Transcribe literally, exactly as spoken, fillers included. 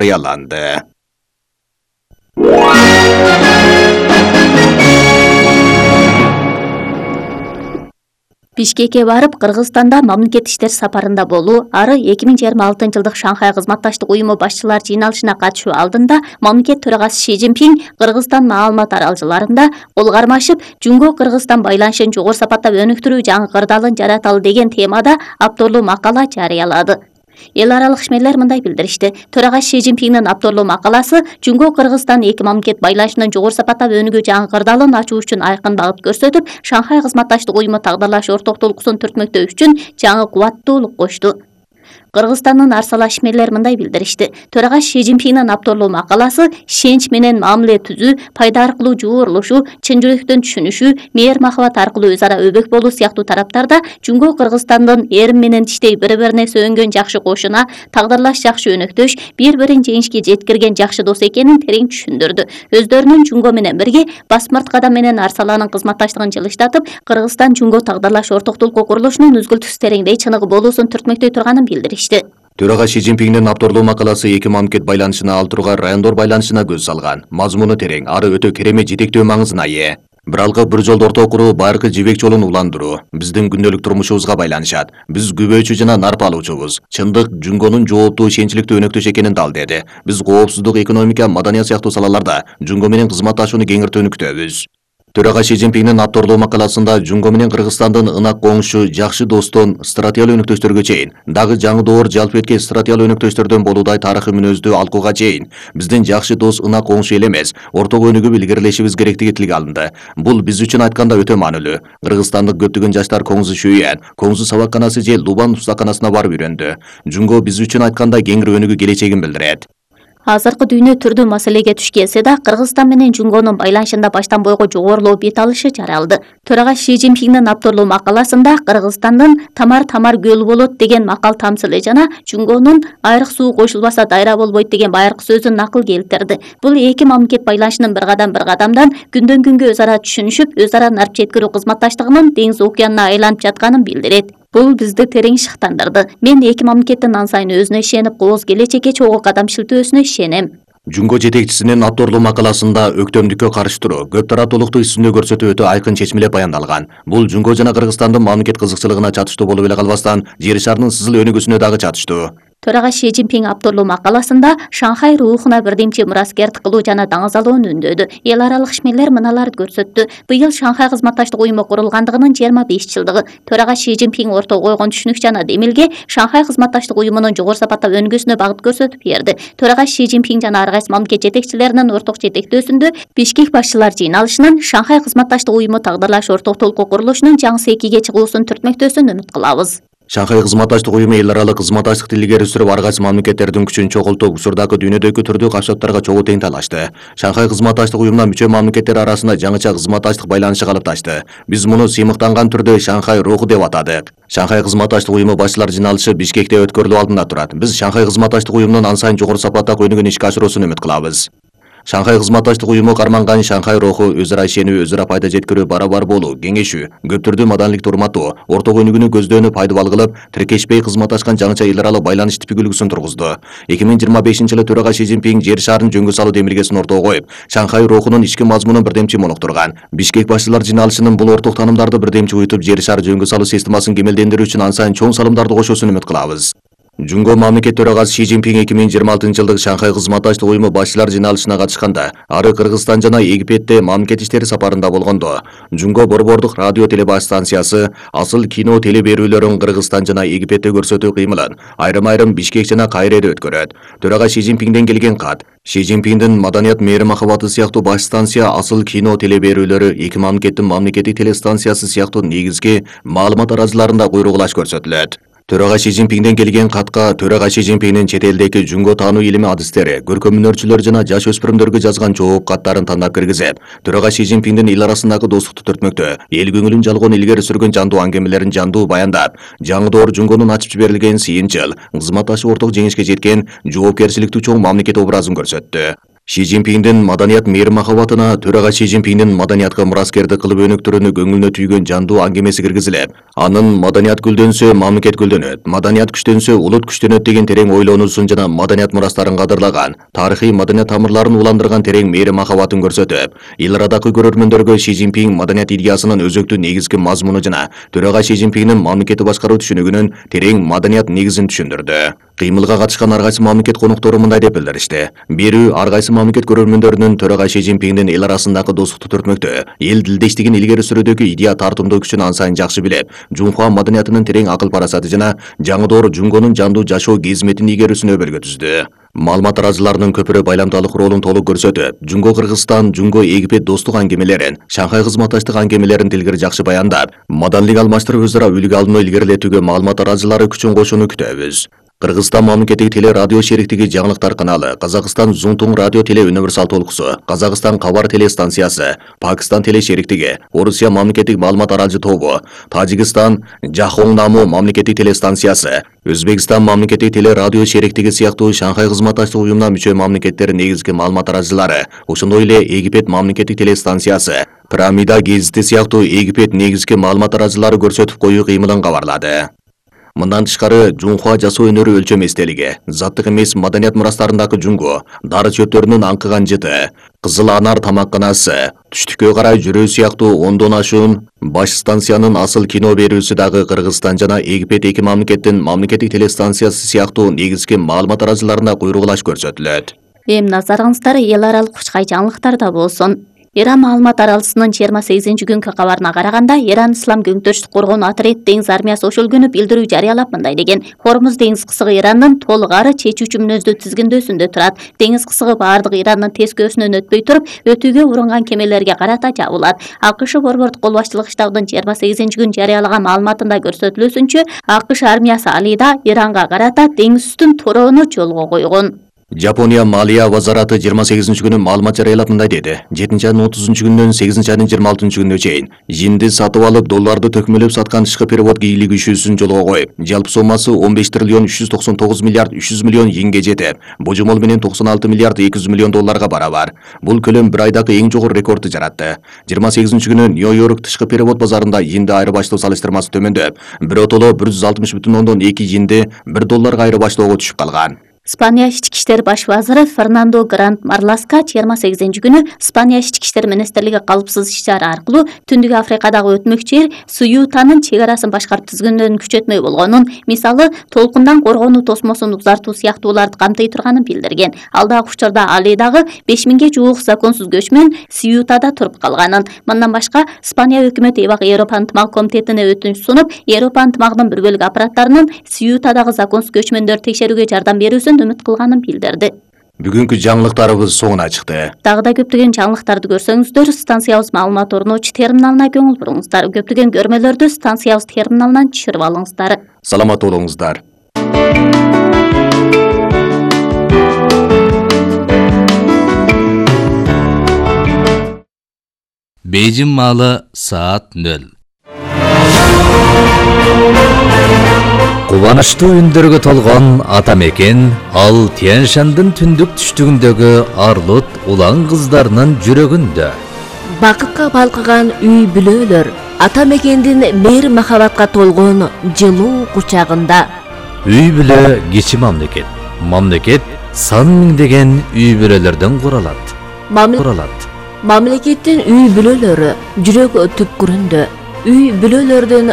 жарыяланды. Бишкекке барып, Кыргызстанда мамлекет иштер сапарында болуу, ары эки миң жыйырма алтынчы жылдык Шанхай кызматташтык уюму башчылар жыйналышына катышуу алдында мамлекет төрагасы Си Цзиньпин Кыргызстан маалымат аралжаларында кол кармашып, Жунго-Кыргызстан байланышын жогору сапатта өнүктүрүү жаңы кырдаалын жараталы деген темада авторлуу макала жарыялады. Эл аралык ишмерлер мындай билдиришти. Төрагасы Си Цзиньпиндин авторлуу макаласы Жунго-Кыргызстан эки мамлекет байланышынын жогору сапатта өнүгүү жаңы кырдаалын ачуу үчүн айкын багыт көрсөтүп, Шанхай кызматташтык уюму тагдырлаш орток толкусун түртмөктөө үчүн жаңы кубаттуулук кошту. Кыргызстандын арсала ишмерлер мындай билдиришти. Төрагасы Си Цзиньпиндин авторлуу макаласы ишенч менен мамиле түзүү, пайда аркылуу жуурулушуу, чын жүрөктөн түшүнүшүү, мээр махабат аркылуу өз ара өбөк болуу сыяктуу тараптарда Жунго-Кыргызстандын эрим менен тиштей бири-бирине сөөнгөн жакшы кошуна, тагдырлаш жакшы өнөктөш, бири-бирин жеңишке жеткирген жакшы дос экенин терең түшүндүрдү. Өздөрүнүн Жунго менен бирге Басмырт кадам менен Арсаланын кызматташтыгын жылыштатып, Кыргызстан Жунго тагдырлаш орток толкуу курулушунун үзгүлтүксүз тереңдей чыныгы болуусун түртмөктөй турганын билдиришти. Төрагасы Си Цзиньпиндин авторлуу макаласы эки мамлекет байланышына ал турган райондор байланышына көз салган. Мазмуну терең, ары өтө керемет жетектөө маңызына ээ. Биралкы бир жолду ортого куруу байыркы жибек жолун уландыруу биздин күндөлүк турмушубузга байланышат. Биз күбөөчү жана нарп алуучубуз. Чындык Жунгонун жооптуу ишенчиликтүү өнөктөш экенин далдеди. Биз коопсуздук, экономика, маданият сыяктуу салаларда Жунго менен кызматташууну кеңиртүүнү күтөбүз. Төрагасы Си Цзиньпиндин авторлуу макаласында Жунго менен Кыргызстандын ынак коңшу, жакшы достон стратегиялык өнөктөштөргө чейин, дагы жаңы доор жалп эткеч стратегиялык өнөктөштөрдөн болуудай тарыхый мүнөздүү алкууга чейин биздин жакшы дос ынак коңшу эл эмес, ортого өнүгүп илгерилешибиз керектиги тилге алынды. Бул биз үчүн айтканда өтө маанилүү. Кыргызстандык көптөгөн жаштар Коңзу Шүйен, Коңзу сабакканасы же Лубан устаканасына барып үйрөндү. Жунго биз үчүн айтканда кеңири өнүгүү келечегин билдирет. Азыркы дүйнө түрдүү маселеге туш келсе да, Кыргызстан менен Жунгонун байланышында баштан бойго жогорулоо бет алышы жаралды. Төрагасы Си Цзиньпиндин авторлуу макаласында Кыргызстандын тамар-тамар көл болот деген макал тамсылы жана Жунгонун айрык суу кошулбаса дайра болбойт деген байыркы сөзүн накыл келтирди. Бул эки мамлекет байланышынын бир кадам бир кадамдан күндөн күнгө өз ара түшүнүшүп, өз ара нарп жеткирүү кызматташтыгынын деңиз океанына айланып жатканын билдирет. Бул бизди терең шыктандырды. Мен эки мамлекеттин ан сайын өзүнө ишенип, кооз келечекке чогуу кадам шилтөөсүнө ишенем. Жунго жетекчисинин авторлуу макаласында өктөмдүккө каршы туруу, көп тараптуулукту үстүндө көрсөтүү өтө айкын чечмелеп баяндалган. Бул Жунго жана Кыргызстандын мамлекет кызыкчылыгына чатыштуу болуп эле калбастан, жер шарынын сызыл өнүгүүсүнө дагы чатыштуу. Төрагасы Си Цзиньпин авторлуу макаласында Шанхай рухуна бирдемчи мураскердик кылуу жана даңазалоон үндөдү. Эл аралык ишмерлер мыналарды көрсөттү. Быйыл Шанхай кызматташтык уюму курулгандыгынын жыйырма беш жылдыгы. Төрагасы Си Цзиньпин ортого койгон түшүнүк жана демилге Шанхай кызматташтык уюмунун жогору сапатта өнүгүүсүнө багыт көрсөтүп берди. Төрагасы Си Цзиньпин жана ар кайсы мамлекет жетекчилеринин орток жетектөөсүндө Бишкек башчылар жыйналышынан Шанхай кызматташтык уюму тагдырлаш орток толкуу курулушунун жаңы экиге чыгуусун түртмөктөөсүн үмүт кылабыз. Шанхай кызматташтык уюму эл аралык кызматташтыкты илгери сүрүп, ар кайсы мамлекеттердин күчүн чогултуп, учурдагы дүйнөдөгү түрдүү капчаптарга чогуу тең талашты. Шанхай кызматташтык уюмуна мүчө мамлекеттер арасында жаңыча кызматташтык байланышы калыпташты. Биз муну сыймыктанган түрдө Шанхай руху деп атадык. Шанхай кызматташтык уюму башчылар жыйналышы Бишкекте өткөрүлүү алдында турат. Биз Шанхай кызматташтык уюмунун ан сайын жогору сапатта өнүгүүнү ишке ашыруусун үмүт кылабыз. Шанхай кызматташтык уюму карманган Шанхай руху өз ара ишенүү, өз ара пайда жеткирүү, бара-бар болуу, кеңешүү, көп түрдүү маданиликти урматтоо, ортого өнүгүүнү көздөөнү пайдабал кылып, тиркешпей кызматташкан жаңыча эл аралык байланыш типик үлгүсүн тургузду. эки миң жыйырма бешинчи жылы төрагасы Си Цзиньпин жер шарын жөнгө салуу демилгесин ортого коюп, Шанхай рухунун ички мазмунун бирдемчи монуктурган. Бишкек башчылар жыйналышынын бул орток таанымдарды бирдемчи уютуп, жер шары жөнгө салуу системасын кемелдендирүү үчүн ан сайын чоң салымдарды кошуусун үмүт кылабыз. Жунго мамлекет төрагасы Си Цзиньпин эки миң жыйырма алтынчы жылдык Шанхай кызматташтык уюму башчылар жыйналышына катышканда, ары Кыргызстан жана Египетте мамлекет иштери сапарында болгондо, Жунго борбордук радио телебаш станциясы асыл кино теле берүүлөрүн Кыргызстан жана Египетте көрсөтүү кыймылын айрым-айрым Бишкек жана Кайреде өткөрөт. Төрагасы Си Цзиньпинден келген кат. Си Цзиньпиндин маданият мээри махабаты сыяктуу баш станция асыл кино теле берүүлөрү эки мамлекеттин мамлекеттик телестанциясы сыяктуу негизги маалымат араларында куйругулаш көрсөтүлөт. Төрагасы Си Цзиньпинден келген катка төрагасы Си Цзиньпиндин чет элдеги Жунго таануу илими адистери, көркөм өнөрчүлөр жана жаш өспүрүмдөргө жазган жооп каттарын тандап киргизип, төрагасы Си Цзиньпиндин эл арасындагы достукту түртмөктө, эл көңүлүн жалгоон илгери сүргөн жандуу аңгемелерин жандуу баяндап, жаңы доор Жунгонун ачып жиберилген сыйынчыл, кызматташып орток жеңишке жеткен жоопкерчиликтүү чоң мамлекет образын көрсөттү. Ши Цзиньпиндин маданият мейир махабатына төрага Ши Цзиньпиндин маданиятка мураскердик кылып өнүктүрүүнү көңүлүнө түйгөн жандуу аңгемеси киргизилип, анын маданият гүлдөнсө мамлекет гүлдөнөт, маданият күчтөнсө улут күчтөнөт деген терең ойлонуусун жана маданият мурастарын кадырлаган, тарыхый маданият тамырларын уландырган терең мейир махабатын көрсөтүп, эл арадагы көрөрмөндөргө Ши Цзиньпин маданият идеясынын өзөктүү негизги мазмуну жана төрага Ши Цзиньпиндин мамлекетти башкаруу түшүнүгүнүн терең маданият негизин түшүндүрдү. Кыймылга катышкан ар кайсы мамлекет коноктору мындай деп билдиришти. Бирүү, ар кайсы мамлекет көрөрмөндөрүнүн төрага Ши Цзиньпиндин эл арасындагы достукту төртмөктө, эл дилдештигин илгери сүрүүдөгү идея тартымдуу күчүн ан сайын жакшы билип, Жунхуа маданиятынын терең акыл парасаты жана жаңы доор Жунгонун жандуу жашоо кызметин ийгерүүсүнө өбөлгө түздү. Маалымат тараачыларынын көпүрө байламдалык ролун толук көрсөтүп, Жунго Кыргызстан, Жунго Египет достук аңгемелерин, Шанхай кызматташтык аңгемелерин тилгери жакшы баяндап, маданилик алмаштырып өзара үлгү алууну илгерилетүүгө маалымат тараачылары күчүн кошууну күтөбүз. Кыргызстан мамлекеттик теле радио шериктиги жаңылыктар каналы, Казакстан Зунтуң радио теле универсал толкусу, Казакстан Кабар теле станциясы, Пакистан теле шериктиги, Орусия мамлекеттик маалымат аралжы тобу, Тажикстан Жахоңнаму мамлекеттик теле станциясы, Өзбекстан мамлекеттик теле радио шериктиги сыяктуу Шанхай кызматташтык уюмуна мүчө мамлекеттер негизги маалымат тараачылары, ошондой эле Египет мамлекеттик теле станциясы, Пирамида гезити сыяктуу Египет негизги маалымат тараачылары көрсөтүп коюу кыймылын кабарлады. Мындан тышкары Жунхуа жасоо өнөрү өлчөм эстелиги, заттык эмес маданият мурастарындагы Жунго, дары чөптөрүнүн аңкыган жыты, Кызыл Анар тамакканасы, түштүккө карай жүрүү сыяктуу ондон ашуун баш станциянын асыл кино берүүсү дагы Кыргызстан жана Египет эки мамлекеттин мамлекеттик телестанциясы сыяктуу негизги маалымат тараачыларына куйругулаш көрсөтүлөт. Эми назарыңыздар эл аралык кучкай жаңылыктарда болсун. Иран маалымат аралчысынын жыйырма сегизинчи күнгү кабарына караганда, Иран Ислам көңтөрүштүк коргоонуу отряд деңиз армиясы ошол күнү билдирүү жарыялап мындай деген: Хормуз деңиз кысыгы Ирандын толук ары чечүүчү мүнөздүү тизгиндөөсүндө турат. Деңиз кысыгы баардык Ирандын тескөөсүнөн өтпөй туруп, өтүүгө урунган кемелерге карата жабылат. АКШ борбордук кол башчылык штабынын жыйырма сегизинчи күнү жарыялаган маалыматында көрсөтүлүүсүнчө, АКШ армиясы Алида Иранга карата деңиз үстүн torooну жолго койгон. Жапония Малия вазараты жыйырма сегизинчи күнү маалымат жарыялап мындай деди: жетинчи айдын отузунчу күнүнөн сегизинчи айдын жыйырма алтынчы күнүнө чейин жинди сатып алып, долларды төкмөлөп саткан тышкы перевод кийлиги ишүүсүн жолго коюп, жалпы соммасы он беш триллион үч жүз токсон тогуз миллиард үч жүз миллион йенге жетип, божомол менен токсон алты миллиард эки жүз миллион долларга барабар. Бул көлөм бир айдагы эң жогору рекордду жаратты. жыйырма сегизинчи күнү Нью-Йорк тышкы перевод базарында йенди айырбаштоо салыштырмасы төмөндөп, биротоло бир жүз алтымыш бүтүн ондон эки йенди бир долларга айырбаштоого түшүп калган. Испания ички иштер баш вазыры Фернандо Гранд Марласка жыйырма сегизинчи күнү Испания ички иштер министрлиги калпсыз иш-чара аркылуу Түндүк Африкадагы өтмөкчү эл Суютанын чек арасын башкарып тизгиндөөнүн күчөтмөй болгонун, мисалы, толкундан коргонуу тосмосун узартуу сыяктууларды камтый турганын билдирген. Алдагы учурда Алидагы беш миңге жуук законсуз көчмөн Суютада туруп калганын. Мындан башка, Испания өкмөтү эбак Европа ынтымак комитетине өтүнүч сунуп, Европа ынтымагынын бир бөлүк аппараттарынын Суютадагы законсуз көчмөндөрдү текшерүүгө жардам берүүсүн үмүт кылганын билдирди. Бүгүнкү жаңылыктарыбыз соңуна чыкты. Дагы да көптөгөн жаңылыктарды көрсөңүздөр, станциябыз маалымат орночу терминалына көңүл буруңуздар. Көптөгөн көрмөлөрдү станциябыз терминалынан түшүрүп алыңыздар. Саламат болуңуздар. Бейжин маалы саат нөл. Кубанычтуу үндөргө толгон ата мекен, ал Тянь-Шандын түндүк түштүгүндөгү Арлут улан кыздарынын жүрөгүндө. Бакытка балкыган үй бүлөлөр, ата мекендин мейир махабатка толгон жылуу кучагында. Үй бүлө кичи мамлекет. Мамлекет сан миңдеген үй бүлөлөрдөн куралат. Куралат. Мамлекеттин үй бүлөлөрү жүрөк түпкүрүндө. Үй бүлөлөрдүн